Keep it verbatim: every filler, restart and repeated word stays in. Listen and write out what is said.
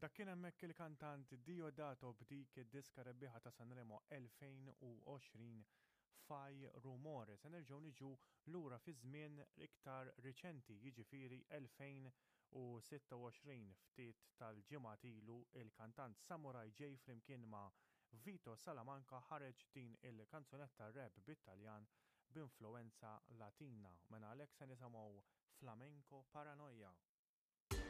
Dak kien hemmhekk il-kantant Diodato b'dik id-diska rebbieħa ta' Sanremo elfejn u għoxrin, Fai Rumore. Se nerġgħu niġu lura fi żmien iktar riċenti, jiġifieri elfejn u sitta u għoxrin. Ftit tal-ġimgħat ilu, il-kantant Samurai J flimkien ma' Vito Salamanca ħareġ din il-kanzunetta rap bit-Taljan b'influenza Latina. Mela għalhekk se nisimgħu Flamenco Paranoia.